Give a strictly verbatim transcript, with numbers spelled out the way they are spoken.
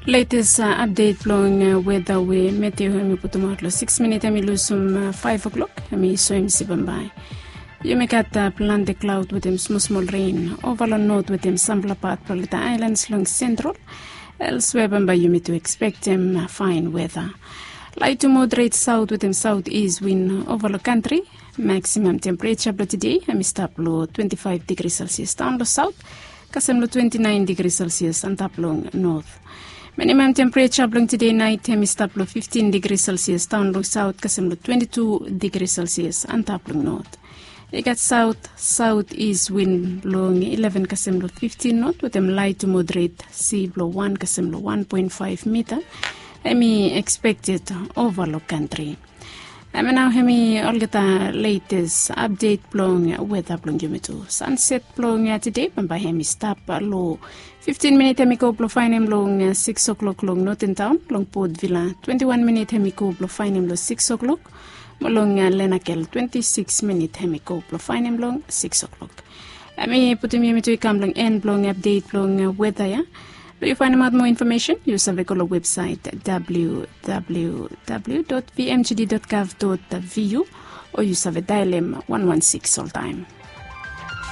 Letes apdet blong weta we Matthew hem i putumaot long siks minit hem i lusum faiv o'klok, hem i soem se bambae yumi gat plante klaod wetem smosmol ren ova long not wetem sampela pat blong olgeta aelans long sentral. Elswea bambae yumi tu ekspektem faen weta. Lait tu moderet saot wetem saot is win ova long kantri. Maksimam tempereja blong tede hem i stap long twenti faiv digri selsias daon long saot, kasem long twenti naen digri selsias antap long not. Minimam tempereja blong tede nait hem i stap long fiftin digri selsias daon long saot, kasem long twenti tu digri selsias antap long not. I gat saot saot is win long ileven kasem long fiftin not wetem lait tu moderet si blong wan kasem long wan poen faiv mita hem i ekspekted ova long kantri. Hem nao hem i olgeta letes apdet blong weta blong yumi tu. Sanset blong tede bambae hem i stap long fiftin minit hem i go blong faenem long siks o'klok long noten taon. Long Port Vila twenti wan minit hem i go blong faenem long siks o'klok. Mo long Lenakel twenti siks minit hem i go blong faenem long siks o'klok. Hem i putum yumi tu i kam long en blong apdet blong weta ya. Blong yu faenemaot moa infomesen yu save go long websaet www vmgd gov vu, o yu save daelem wan wan siks oltaem.